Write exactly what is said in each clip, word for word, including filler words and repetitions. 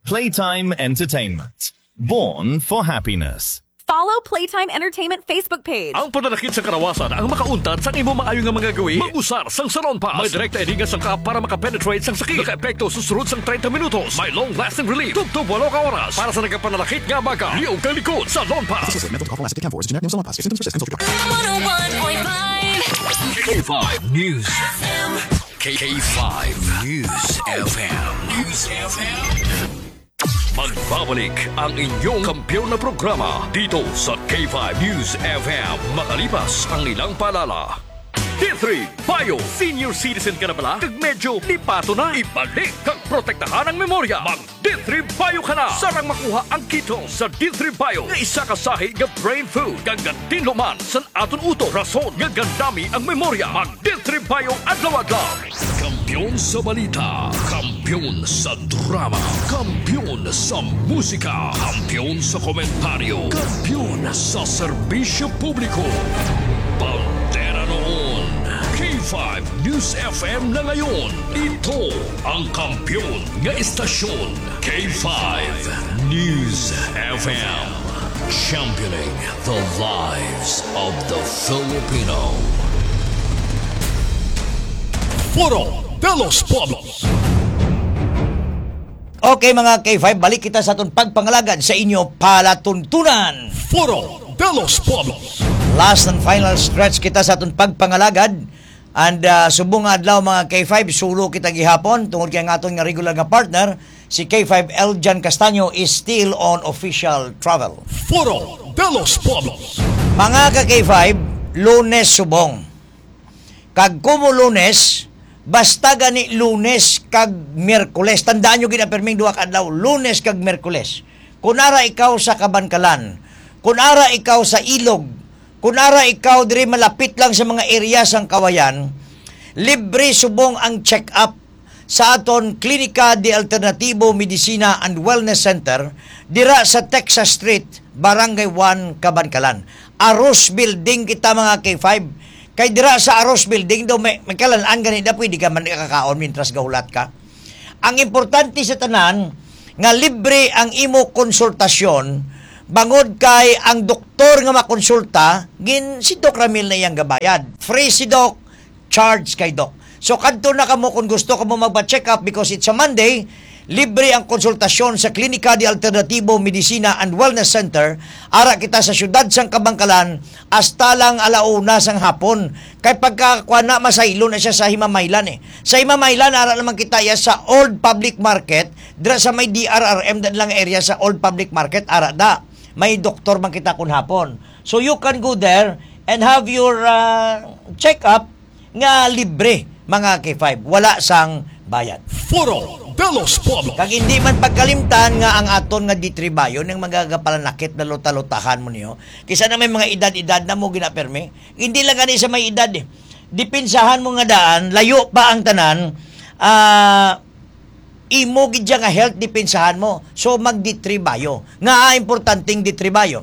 Playtime Entertainment. Born for happiness. Follow Playtime Entertainment Facebook page. Ang pananakit sa kalawasan ang makauntad sa imo maayo nga mga gawi. Mag-usar sang Salon Pass. May direkta ini nga sangkap para makapenetrate sang sakit. Nakaepekto sa sulod sang treinta minutos. May long-lasting relief. Tubtob walo ka oras. Para sa nagapananakit nga baga, liog kang likod. Salon Pass. This is a mental health last ten for is generic name Salon Pass. If symptoms persist, consult your doctor. One oh one point five K five News. K five News F M. News F M. Magbabalik ang inyong kampiyon na programa dito sa K five News F M, makalipas ang ilang paalala. D three Bio Senior Citizen ka na bala? Kag medyo lipato na? Ibalik kag protektahan ang memorya. Mag D three Bio ka na. Sarang makuha ang ketone sa D three Bio nga isa ka sahi nga brain food kag gantinluman sa aton utok, rason nga gandami ang memorya. Mag D three Bio adlaw-adlaw. Kampiyon sa balita, kampiyon sa drama, kampiyon sa musika, kampiyon sa komentaryo, kampiyon sa serbisyo publiko. Bandera noon, K five News F M na ngayon. Ito ang kampiyon nga istasyon, K five News F M. Championing the lives of the Filipino. Foro de los Pueblos. Okay, mga K five, balik kita sa aton pagpangalagad sa inyo palatuntunan. Foro de los Pueblos. Last and final stretch kita sa aton pagpangalagad. And, ah, subong nga adlaw, mga K five, solo kita gihapon tungod kay ang aton nga regular nga partner, si K five Eljan Castaño, is still on official travel. Foro de los Pueblos. Mga ka K five, Lunes subong. Kag kumo Lunes, basta gani Lunes kag Miyerkules. Tandaan nyo gid ang pirming duha ka adlaw, Lunes kag Miyerkules. Kung ara ikaw sa Kabankalan, kung ara ikaw sa Ilog, kung ara ikaw diri malapit lang sa mga area sang Kawayan, libre subong ang check-up sa aton Klinika de Alternativo Medicina and Wellness Center dira sa Texas Street, Barangay one, Kabankalan. Aros Building kita, mga K five. Kay dira sa Aros Building daw may, may kalan-an gani na pwede ka man kakaon mintras gahulat ka. Ang importante sa tanan nga libre ang imo konsultasyon, bangod kay ang doktor nga makonsulta, gin si Doc Ramil na iyang gabayad. Free si Doc, charge kay Doc. So, kadto na kamo kung gusto kamo magpa-check up because it's a Monday. Libre ang konsultasyon sa Klinika de Alternativo Medicina and Wellness Center. Ara kita sa siyudad sang Kabankalan hasta lang ala una sang hapon. Kay pagkakuan na, masaylo na siya sa Himamaylan eh. Sa Himamaylan, ara naman kita iya sa Old Public Market, dira sa may D R R M, dan lang area sa Old Public Market, ara da. May doktor man kita kun hapon. So you can go there and have your, ah, check-up nga libre, mga K five. Wala sang bayad. Foro de los Pueblos. Kag hindi man pagkalimtan nga ang aton nga D three Bio, ang mga gapalanakit na luta-lutahan mo niyo. Kisa na may mga edad-edad na mo ginapermi. Hindi lang gani sa may edad eh. Depensahan mo nga daan, layo pa ang tanan, ah, imo gid siya nga health, depensahan mo. So, mag D three Bio. Nga importanteng D three Bio.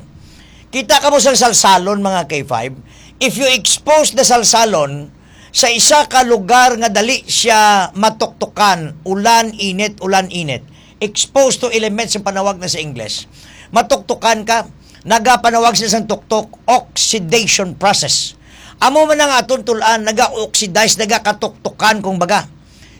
Kita kamo sa salsalon, mga K five. If you expose the salsalon sa isa ka lugar nga dali siya matuktukan, ulan, init, ulan, init, exposed to elements ang panawag na sa English, matuktukan ka, nagapanawag siya sang tuktok, oxidation process. Amo man ang aton tulan, naga-oxidize, nagakatuktukan, kung baga.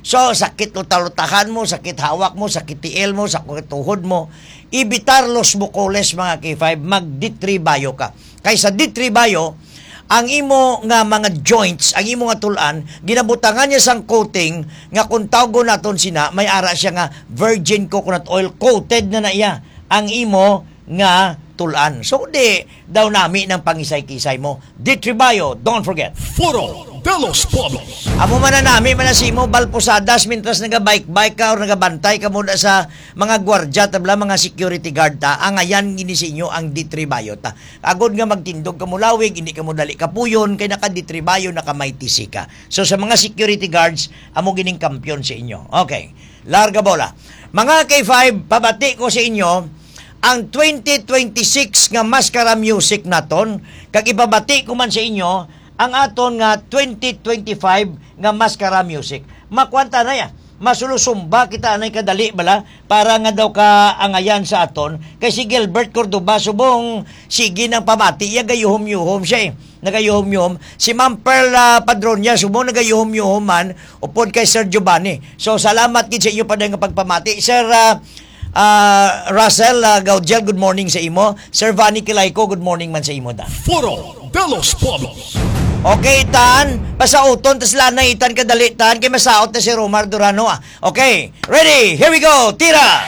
So, sakit luta-lutahan mo, sakit hawak mo, sakit tiil mo, sakit tuhod mo, evitar los bucoles, mga K five, mag D three Bio ka. Kay sa D three Bio, ang imo nga mga joints, ang imo nga tulan, ginabutangan niya sang coating nga kung tawgon naton sina, may ara siya nga virgin coconut oil, coated na na iya ang imo nga tulan. So, di daw nami ng pangisay-kisay mo. D three Bio, don't forget. Foro de los Pueblos. Amo man na nami man na si imo, Bal Posadas, mintras nagabike-bike ka or nagabantay ka muna sa mga gwardya, tabla, mga security guard ta. Ang ayan gini sa inyo ang D three Bio ta. Agod nga magtindog ka mo lawig, hindi ka mo dali kapuyon, kay naka D three Bio, naka Mighty C ka. So, sa mga security guards, amo gining kampiyon sa inyo. Okay. Larga bola. Mga K five, pabati ko sa inyo, ang twenty twenty-six nga Mascara Music naton, kag ipabati ko man sa inyo ang aton nga twenty twenty-five nga Mascara Music. Makwanta na ya. Masulusumba kita anay kadali bala para nga daw ka angayan sa aton. Kay si Gilbert Cordoba subong sige nang pamati, iya gayuhom-yuhom siya eh. Nagayuhom-yuhom. Si Ma'am Pearl ah, Padronia subong nagayuhom-yuhom man upod kay Sir Giovanni. So salamat gid sa inyo pa nga pagpamati. Sir ah, ah, Russell ah, Gaudiel, good morning sa imo. Sir Vanny Kilayco, good morning man sa imo da. Foro de los Pueblos. Okay, tan, pasauton tas lanay itan kadali tan kay masaot na si Romar Durano ah. Okay, ready? Here we go. Tira.